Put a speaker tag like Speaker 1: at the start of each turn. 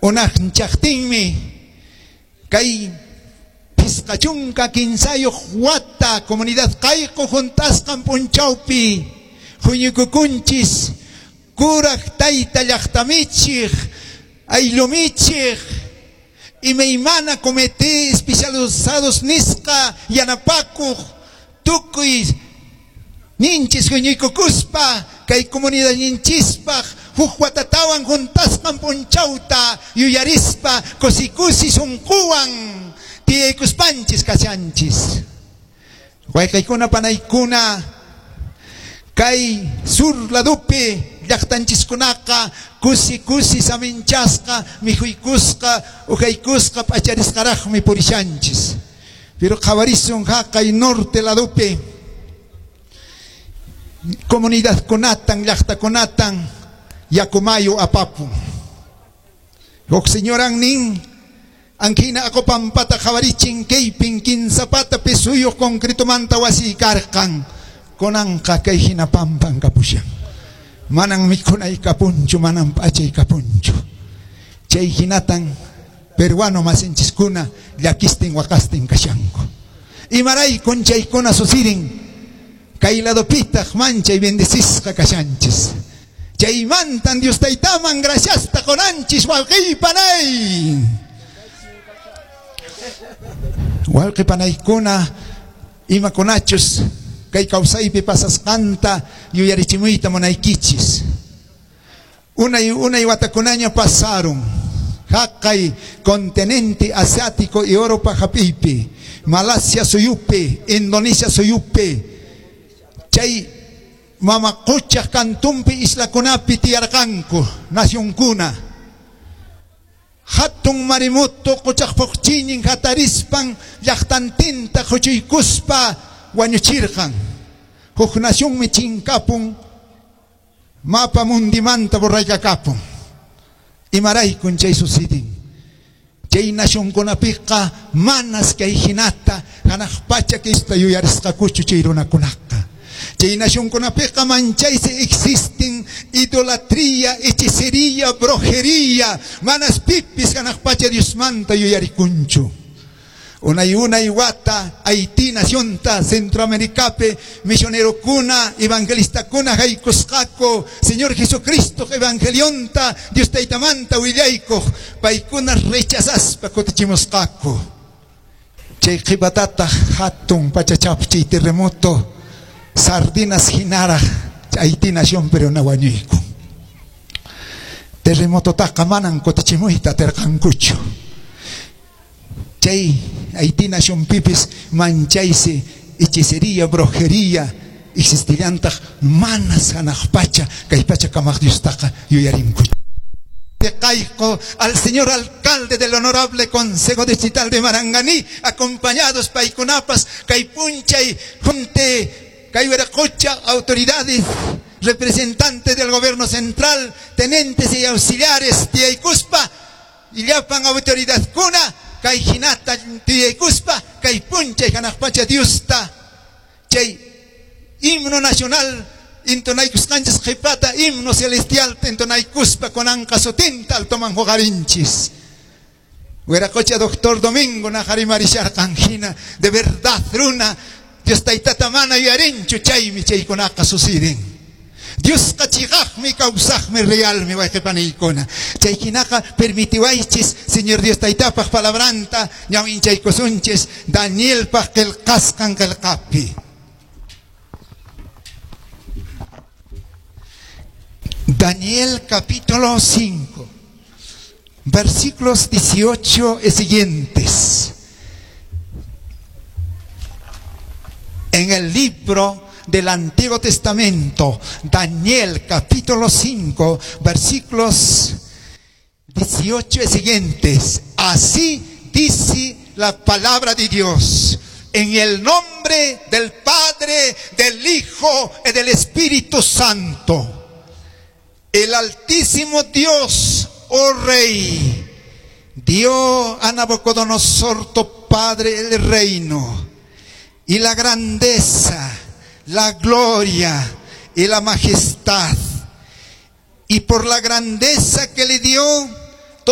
Speaker 1: Unanchaqtinmi kay 53 wata comunidad Qayqu hunt'asqan p'unchawpi huñukukunchis kuraq tayta llaqtamichiq ayllumichiq imaymana comité especializados nisqa yanapakuq tukuy ninchis huñuykukuspa kay comunidadninchispaq huk watatawan huntasqan p'unchawta yuyarispa kusikusi sunquwan tiyaykuspanchis kashanchis. Wayqaykuna panaykuna kay sur ladupi llaqtanchiskunaqa kusi kusi saminchasqa mikhuykusqa ujaykusqa p'acharisqaraqmi purishanchis. Pero qhawarisun haqay norte ladupi comunidadkunatan llaqtakunatan yakumayu apapun. Huk señoran nin ankina aqupampata qhawarichin kaypin kinsapata pisuyuq concretomanta wasiy karqan kunanqa kay hina pampan kapushan. Manan mikhunay kapunchu, manan p'achay kapunchu. Chay hinatan peruano masinchiskuna llakistin waqastin kashanku. Imaraykun chaykuna suceden kay ladopitaq manchay bendecisqa kashanchis. Chaymantan Dios taytaman graciasta qunanchis wawqiy panay. Wawqi panaykuna imakunachus kay kawsaypi pasasqanta yuyarichimuyta munaykichis. Unay unay watakunaña pasaron. Haqay continente asiático y Europa hap'iypi, Malasia suyupi, Indonesia suyupi, chay mama quchaq kantunpi islakunapi tiyarqanku nacionkuna. Hatun maremoto quchaq puqchinin hatarispan llaqtantinta quchuykuspa wañuchirqan. Huk nacionmi chinkapun mapa mundimanta borraykakapun. Imaraykun chay sucedin. Chay nacionkunapiqa manas kay hinata hanaq pacha kista yuyarisqakuchu chay runakunaqa. Chay nacionkunapiqa manchaysi existen idolatría, hechicería, brujería, manas pipis hanaq pacha Diosmanta yuyarikunchu. Unay unay wata Haití nacionta Centroamericapi misionerokuna evangelistakuna haykusqaku Señor Jesucristo evangelionta Dios taytamanta willaykuq paykuna rechazaspa kutichimusqaku. Chay qhipatataq hatun pachachapchiy terremoto sardinas hinaraq Haití nación pero na wañuyku. Terremototaqa manan kutichimuyta atirqankuchu. Chay Haití nación pipis manchaysi hechicería, brujería existillantaq manas hanaq pacha kay pacha kamaq Diostaqa yuyarinkuchu. Caico al señor alcalde del honorable Consejo Distrital de Maranganí, acompañados paykunapas, kay punchay, junte, kay Huiracocha, autoridades, representantes del gobierno central, tenentes y auxiliares, tiyaykuspa, y llapan autoridad kuna, kay hinata tiyaykuspa, kay punchay hanaq pacha Diosta, chay himno nacional intonaykusqanchis qhipata himno celestial intonaykuspa kunanqa sutinta altoman huqarinchis. Huiracocha doctor Domingo naqarimarisharqan hina de verdad runa Dios taytata mana yuyarinchu chaymi chaykunaqa suceden. Diosqa chiqaqmi kawsaqmi realmi wayqipanaykuna. Chay hinaqa permitiwaychis Señor Dios taytapaq palabranta ñawinchaykusunchis Danielpaq qillqasqan qillqapi. Daniel capítulo 5, versículos 18 y siguientes. En el libro del Antiguo Testamento, Daniel capítulo 5, versículos 18 y siguientes. Así dice la palabra de Dios. En el nombre del Padre, del Hijo y del Espíritu Santo. El Altísimo Dios, oh Rey, dio a Nabucodonosor tu padre el reino y la grandeza, la gloria y la majestad. Y por la grandeza que le dio,